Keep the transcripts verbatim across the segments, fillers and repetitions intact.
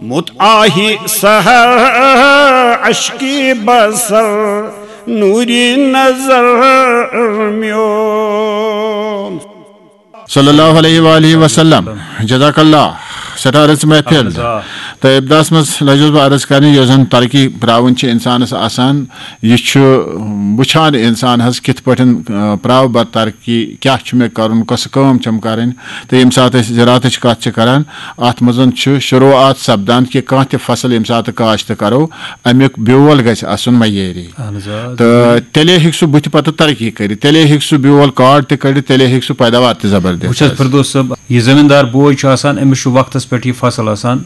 متعاہی سحر، اشکی بصر، نوری نظر میون۔ صلی اللہ علیہ وآلہ وسلم۔ جزاک اللہ۔ سٹارس محفل۔ اہن حظ، آ۔ تہٕ ابتداہس منٛز لجوس بہٕ عرض کرنہِ، یۄس زن ترقی پراوٕنۍ چھِ انسانس آسان، یہِ چھُ وٕچھان انسان حظ کِتھ پٲٹھۍ، آ، پراو بہٕ ترقی، کیٛاہ چھُ مےٚ کرُن، کۄس کٲم چھم کرٕنۍ۔ تہٕ ییٚمہِ ساتہٕ أسۍ زِراعتٕچ کَتھ چھِ کَران، اَتھ منٛز چھُ شروٗعات سَپدان کہِ کانٛہہ تہِ فصل ییٚمہِ ساتہٕ کاشت کَرو، اَمیُک بیول گژھِ آسُن معیٲری۔ اہن حظ، آ۔ تہٕ تیٚلے ہیٚکہِ سُہ بُتھِ پَتہٕ ترقی کٔرِتھ، تیٚلے ہیٚکہِ سُہ بیول کاڈ تہِ کٔڑِتھ، تیٚلے ہیٚکہِ سُہ پیداوار تہِ زبردست وٕچھ حظ، آسہِ۔ فردوس صٲب، یہِ زٔمیٖندار بوے چھُ آسان، أمِس چھُ وقتَس پٮ۪ٹھ یہِ فصل آسان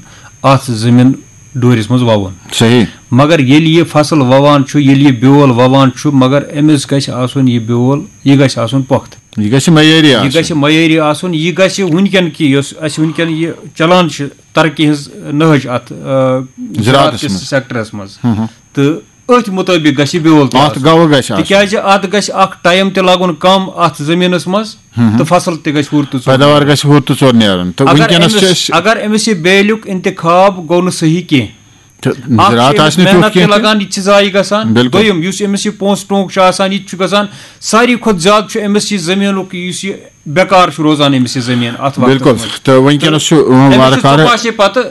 اَتھ زٔمیٖن ڈوٗرِس منٛز وَوُن۔ صحیح۔ مگر ییٚلہِ یہِ فصل وَوان چھُ، ییٚلہِ یہِ بیول وَوان چھُ، مگر أمِس گژھِ آسُن یہِ بیول، یہِ گژھِ آسُن پۄختہٕ۔ یہِ گژھِ معیٲری یہِ آسُن۔ گژھِ معیٲری آسُن، یہِ گژھِ وٕنکیٚن کہِ یۄس اَسہِ وٕنکیٚن یہِ چلان چھِ ترقی ہٕنٛز نہج اَتھ، آ، زراعتس زراعت کِس منٛز۔ سیکٹرس منٛز۔ ہم ہم۔ تہٕ أتھۍ مُطٲبِق گژھِ یہِ بیول تہِ اَتھ آسُن۔ گوٚو گژھِ آسُن۔ تِکیٛازِ اَتھ گژھِ اکھ ٹایم تہِ لگُن کم اَتھ زٔمیٖنس منٛز ہم ہم۔ تہٕ فصل تہِ گژھِ ہُر تہٕ ژوٚر پیداوار نیرُن۔ گژھِ ہُر تہٕ ژوٚر نیرُن۔ تہٕ اگر وٕنکیٚنس چھِ أمِس، أسۍ اگر أمِس یہِ بیلُک انتخاب گوٚو نہٕ صحیح کینٛہہ، تہٕ اکھ چھُ زراعت أمِس آسہِ نہٕ تیُتھ محنت تہِ کینٛہہ تہِ۔ لگان، یہِ تہِ چھِ ضایع گژھان۔ بِلکُل۔ دوٚیِم، یُس أمِس یہِ پونٛسہٕ ٹونٛک چھُ آسان، یہِ تہِ چھُ گژھان۔ ساروی کھۄتہٕ زیادٕ چھُ أمِس یہِ زٔمیٖنُک، یُس یہِ بیکار چھُ روزان أمِس یہِ زٔمیٖن اَتھ وقتَس بِلکُل۔ منٛز۔ تہٕ وٕنکیٚنَس چھُ، تہٕ أمِس وارٕ چھُ کارٕ ژۄپاسے پَتہٕ،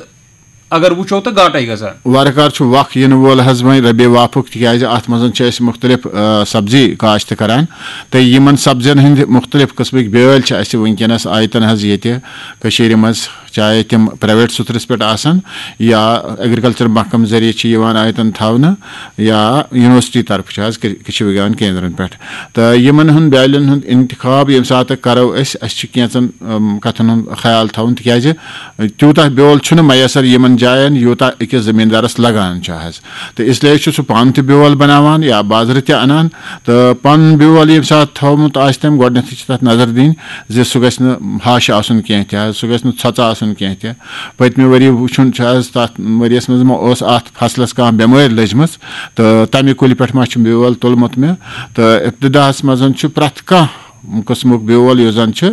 اگر وٕچھو، تہٕ گاٹَے گژھان۔ وارٕ کارٕ چھُ وق یِنہٕ وول حظ وۄنۍ ربیع وافُک، تِکیٛازِ اَتھ منٛز چھِ أسۍ مُختلف، آ، سبزی کاشت کَران۔ تہٕ یِمَن سبزیَن ہٕنٛدۍ مُختلف قٕسمٕکۍ بیٛٲلۍ چھِ اَسہِ وٕنکیٚنَس آیتَن حظ ییٚتہِ کٔشیٖرِ منٛز۔ چاہے تِم پرائیویٹ سترس پٮ۪ٹھ آسن یا ایگریکلچر محکمہٕ ذٔریعہٕ چھِ یِوان آیتن تھاونہٕ یا یونیورسٹی طرفہٕ چھِ آز کٔ-، کٔشیٖر وِگیان کیندرن پٮ۪ٹھ۔ تہٕ یِمن ہُنٛد بیالٮ۪ن ہُنٛد انتخاب ییٚمہِ ساتہٕ کرو أسۍ، اَسہِ چھُ کینٛژن، أم، کتھن ہُنٛد خیال تھاوُن، تِکیازِ تیوٗتاہ بیول چھُنہٕ میسر یِمن جاین، یوٗتاہ أکِس زٔمیٖندارس لگان چھُ حظ۔ تہٕ اس لیے چھُ سُہ پانہٕ تہِ بیول بناوان یا بازرٕ تہِ انان۔ تہٕ پنُن بیول ییٚمہِ ساتہٕ تھوٚومُت آسہِ تٔمۍ، گۄڈٕنیتھٕے چھِ تتھ نظر دِنۍ زِ سُہ گژھِ نہٕ ہش آسُن کینٛہہ تہِ حظ، سُہ گژھِ نہٕ ژھۄژٕ آسُن کینٛہہ تہِ۔ پٔتمہِ ؤری وٕچھُن چھُ حظ، تتھ ؤریس منٛز ما اوس اتھ فصلس کانٛہہ بٮ۪مٲرۍ لٔجمٕژ، تہٕ تمہِ کُلہِ پٮ۪ٹھ ما چھُ بیول تُلمُت مےٚ۔ تہٕ ابتداہس منٛز چھُ پرٛٮ۪تھ کانٛہہ قٕسمُک بیول یُس زن چھُ،